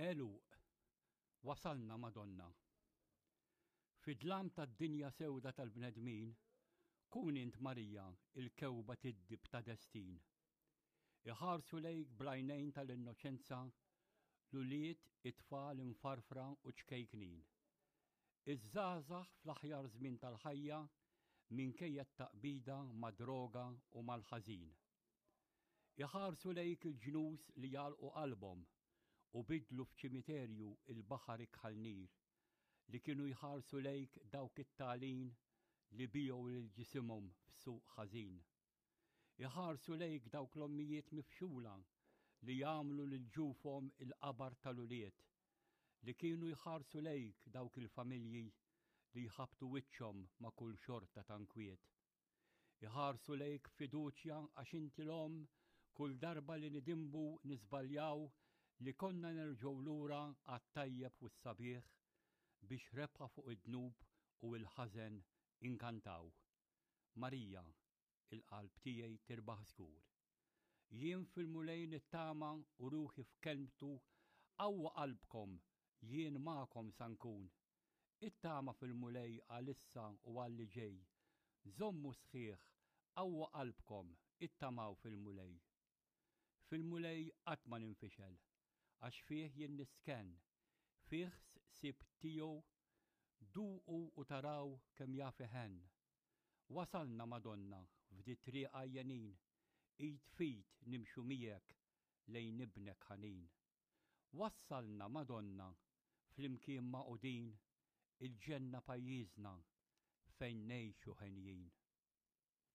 Għeluq, Wasalna Madonna. Fid-dlam tad-dinja sewda tal-bnedmin, kun int Marija il-kewba tiddib ta' destin. Iħarsu lejk bl-għajnejn tal-innoċenza l-ulied, it-tfal imfarfra u ċkejknin. Iż-żgħażagħ fl-aħjar żmien tal-ħajja minkejja t-taqbida mad-droga u mal-ħażin. Iħarsu lejk il-ġnus li għalqu qalbhom u biddlu f'ċimiterju il-baħar ikħal nir, li kienu jħarsu lejk dawk it-tagħlin li biegħu lil ġisimhom f'suq ħażin. Iħarsu lejk dawk l-ommijiet mifxula li jagħmlu lil ġufhom il-qabar tal-ulied, li kienu jħarsu lejk dawk il-familji li jħabbtu wiċċhom ma' kull xorta ta' nkwiet. Iħarsu lejk b'fiduċja għax inti l-omm kull darba li nidinbu niżbaljaw li konna nerġgħu lura għat-tajjeb u s-sabiħ biex rebħa fuq id-dnub u l-ħażen inkantaw. Marija, il-qalb tiegħi tirbaħ żgur. Jien fil-Mulej nittama u ruħi f'kelmtu qawwu qalbkom jien magħkom sa nkun. Ittama fil-Mulej għal issa u għal li ġej. Żommu sħiħ, qawwu qalbkom, ittamaw fil-Mulej. Fil-Mulej qatt ma ninfixel, għax fih jien nistkenn, fih sibt tiegħu, duqu u taraw kemm jaf iħenn. Wasalna, Madonna, f'dit-triq għajjenin, id f'id nimxu miegħek lejn Ibnek ħanin. Wassalna, Madonna, flimkien magħqudin, il-ġenna pajjiżna fejn ngħixu henjin.